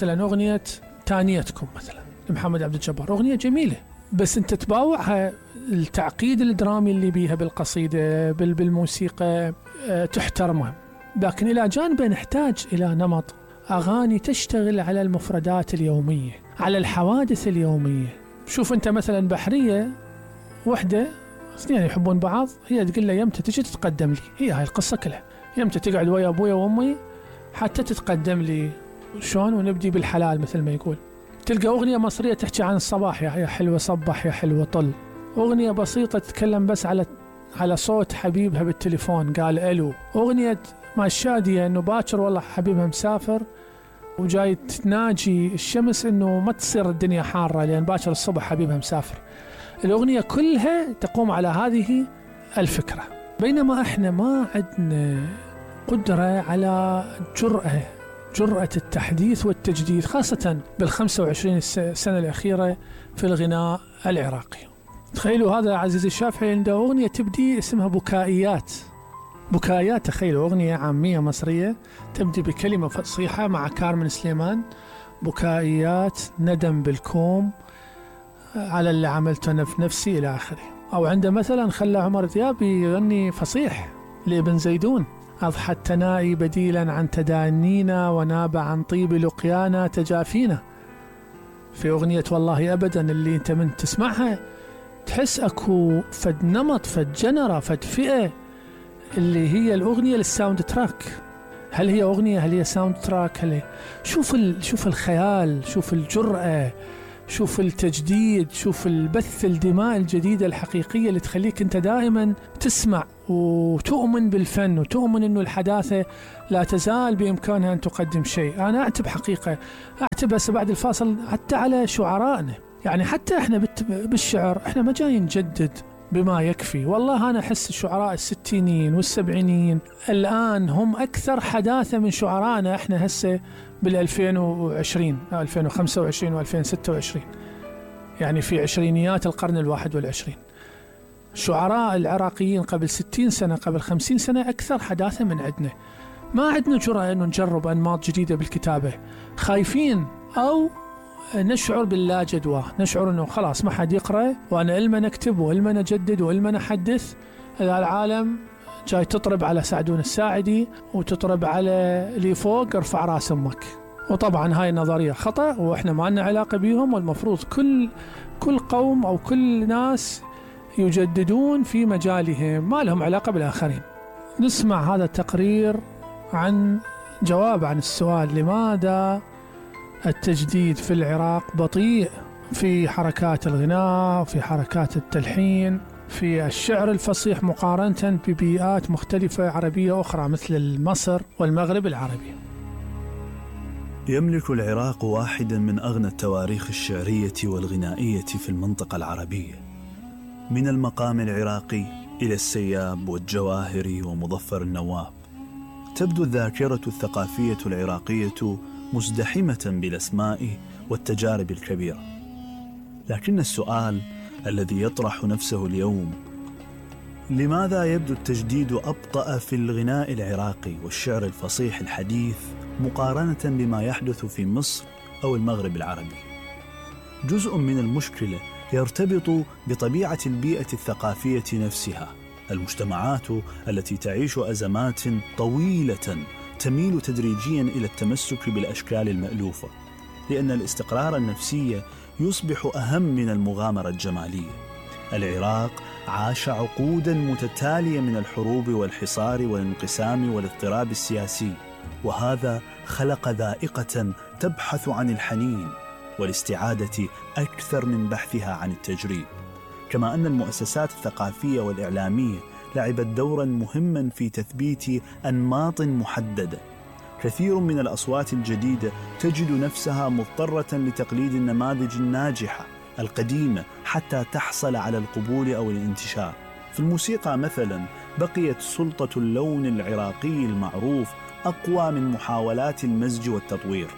مثلا أغنية تانيتكم مثلا لمحمد عبد الجبار، أغنية جميلة، بس أنت تباوعها التعقيد الدرامي اللي بيها بالقصيدة بالموسيقى تحترمها. لكن إلى جانب نحتاج إلى نمط أغاني تشتغل على المفردات اليومية، على الحوادث اليومية. شوف أنت مثلا بحرية وحدة اثنين يحبون بعض، هي تقول له يمتى تجي تتقدم لي، هي هاي القصة كلها، يمتى تقعد ويا أبويا وأمي حتى تتقدم لي، شلون ونبدي بالحلال مثل ما يقول. تلقى أغنية مصرية تحكي عن الصباح، يا حلوة صبح يا حلوة طل، أغنية بسيطة تتكلم بس على صوت حبيبها بالتليفون قال ألو. أغنية مع الشادية أنه باكر والله حبيبها مسافر وجاي تناجي الشمس أنه ما تصير الدنيا حارة لأن باكر الصبح حبيبها مسافر. الأغنية كلها تقوم على هذه الفكرة، بينما احنا ما عندنا قدرة على جرأة التحديث والتجديد، خاصة بال25 سنة الأخيرة في الغناء العراقي. تخيلوا هذا عزيزي الشافعي عنده أغنية تبدي اسمها بكائيات. تخيلوا أغنية عامية مصرية تبدي بكلمة فصيحة مع كارمن سليمان، بكائيات ندم بالكوم على اللي عملته أنا في نفسي إلى آخره. أو عنده مثلا خلى عمر دياب يغني فصيح لابن زيدون، أضحى التنائي بديلا عن تدانينا وناب عن طيب لقيانا تجافينا. في أغنية والله أبدا اللي أنت من تسمعها تحس أكو فد نمط فد جنرة فد فئة اللي هي الأغنية للساوند تراك. هل هي أغنية؟ هل هي ساوند تراك؟ شوف الخيال، شوف الجرأة، شوف التجديد، شوف البث الدماء الجديدة الحقيقية اللي تخليك أنت دائما تسمع وتؤمن بالفن وتؤمن أنه الحداثة لا تزال بإمكانها أن تقدم شيء. أنا أعتب حقيقة هسه بعد الفاصل حتى على شعرائنا، يعني حتى إحنا بالشعر إحنا ما جايين نجدد بما يكفي. والله أنا أحس الشعراء الستينين والسبعينين الآن هم أكثر حداثة من شعرائنا إحنا هسه بال2020 2025 و2026، يعني في عشرينيات القرن ال21. الشعراء العراقيين قبل 60 سنة قبل 50 سنة أكثر حداثة من عندنا. ما عندنا جرأة أنه نجرب أنماط جديدة بالكتابة، خايفين أو نشعر باللا جدوى، نشعر أنه خلاص ما حد يقرأ وأنا إلما نكتب وإلما نجدد وإلما نحدث، العالم جاي تطرب على سعدون الساعدي وتطرب على اللي فوق ارفع راس أمك. وطبعا هاي النظرية خطأ وإحنا ما لنا علاقة بيهم، والمفروض كل قوم أو كل ناس يجددون في مجالهم، ما لهم علاقة بالآخرين. نسمع هذا التقرير عن جواب عن السؤال لماذا التجديد في العراق بطيء في حركات الغناء، في حركات التلحين، في الشعر الفصيح مقارنة ببيئات مختلفة عربية أخرى مثل مصر والمغرب العربي. يملك العراق واحدا من أغنى التواريخ الشعرية والغنائية في المنطقة العربية، من المقام العراقي إلى السياب والجواهري ومظفر النواب. تبدو الذاكرة الثقافية العراقية مزدحمة بالأسماء والتجارب الكبيرة، لكن السؤال الذي يطرح نفسه اليوم: لماذا يبدو التجديد أبطأ في الغناء العراقي والشعر الفصيح الحديث مقارنة بما يحدث في مصر أو المغرب العربي؟ جزء من المشكلة يرتبط بطبيعة البيئة الثقافية نفسها. المجتمعات التي تعيش أزمات طويلة تميل تدريجيا إلى التمسك بالأشكال المألوفة، لأن الاستقرار النفسي يصبح أهم من المغامرة الجمالية. العراق عاش عقودا متتالية من الحروب والحصار والانقسام والاضطراب السياسي، وهذا خلق ذائقة تبحث عن الحنين والاستعادة أكثر من بحثها عن التجريب. كما أن المؤسسات الثقافية والإعلامية لعبت دورا مهما في تثبيت أنماط محددة. كثير من الأصوات الجديدة تجد نفسها مضطرة لتقليد النماذج الناجحة القديمة حتى تحصل على القبول أو الانتشار. في الموسيقى مثلا بقيت سلطة اللون العراقي المعروف أقوى من محاولات المزج والتطوير،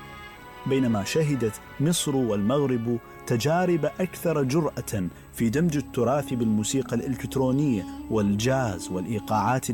بينما شهدت مصر والمغرب تجارب أكثر جرأة في دمج التراث بالموسيقى الإلكترونية والجاز والإيقاعات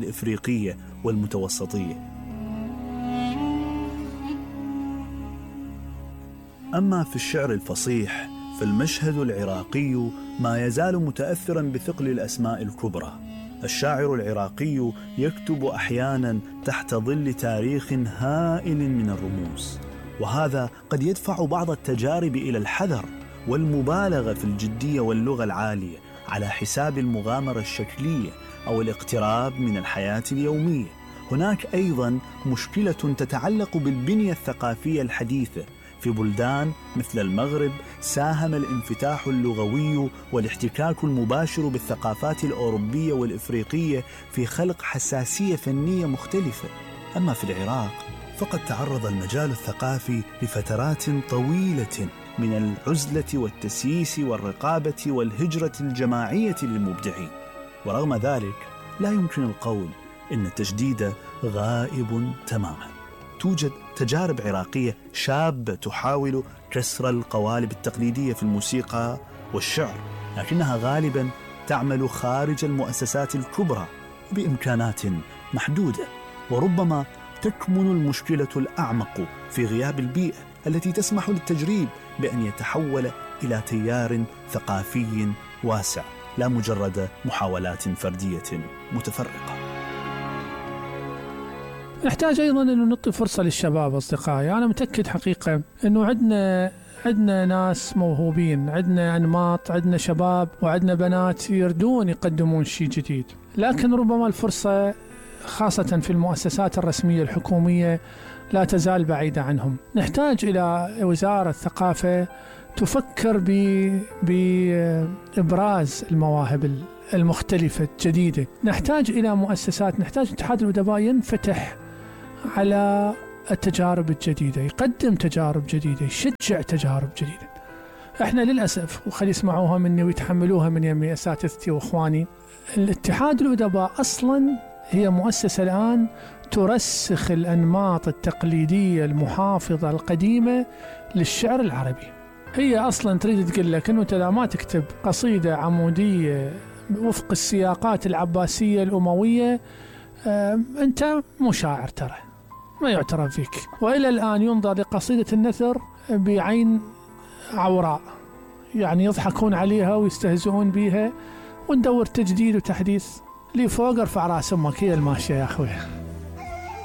أما في الشعر الفصيح فالمشهد العراقي ما يزال متأثراً بثقل الأسماء الكبرى. الشاعر العراقي يكتب أحياناً تحت ظل تاريخ هائل من الرموز، وهذا قد يدفع بعض التجارب إلى الحذر والمبالغة في الجدية واللغة العالية على حساب المغامرة الشكلية أو الاقتراب من الحياة اليومية. هناك أيضاً مشكلة تتعلق بالبنية الثقافية الحديثة. في بلدان مثل المغرب ساهم الانفتاح اللغوي والاحتكاك المباشر بالثقافات الأوروبية والإفريقية في خلق حساسية فنية مختلفة. أما في العراق فقد تعرض المجال الثقافي لفترات طويلة من العزلة والتسييس والرقابة والهجرة الجماعية للمبدعين، ورغم ذلك لا يمكن القول إن التجديد غائب تماما. توجد تجارب عراقية شابة تحاول كسر القوالب التقليدية في الموسيقى والشعر، لكنها غالبا تعمل خارج المؤسسات الكبرى بإمكانات محدودة، وربما تكمن المشكلة الأعمق في غياب البيئة التي تسمح للتجريب بأن يتحول إلى تيار ثقافي واسع، لا مجرد محاولات فردية متفرقة. نحتاج أيضاً أن نعطي فرصة للشباب أصدقائي. أنا متأكد حقيقة أنه عندنا ناس موهوبين، عندنا أنماط، عندنا شباب وعندنا بنات يردون يقدمون شيء جديد، لكن ربما الفرصة خاصة في المؤسسات الرسمية الحكومية لا تزال بعيدة عنهم. نحتاج إلى وزارة الثقافة تفكر بإبراز المواهب المختلفة الجديدة. نحتاج إلى مؤسسات، نحتاج اتحاد الأدباء ينفتح على التجارب الجديدة، يقدم تجارب جديدة، يشجع تجارب جديدة. احنا للأسف، وخلي يسمعوها مني ويتحملوها من يمي أساتذتي وإخواني، الاتحاد الأدباء أصلا هي مؤسسة الآن ترسخ الأنماط التقليدية المحافظة القديمة للشعر العربي. هي أصلا تريد تقول لك أنه أنت ما تكتب قصيدة عمودية وفق السياقات العباسية الأموية أنت مو شاعر، ترى ما يعترف فيك. وإلى الآن ينظر لقصيدة النثر بعين عوراء، يعني يضحكون عليها ويستهزئون بها، وندور تجديد وتحديث. لي فوق ارفع راس أمك، هي الماشية يا أخوي.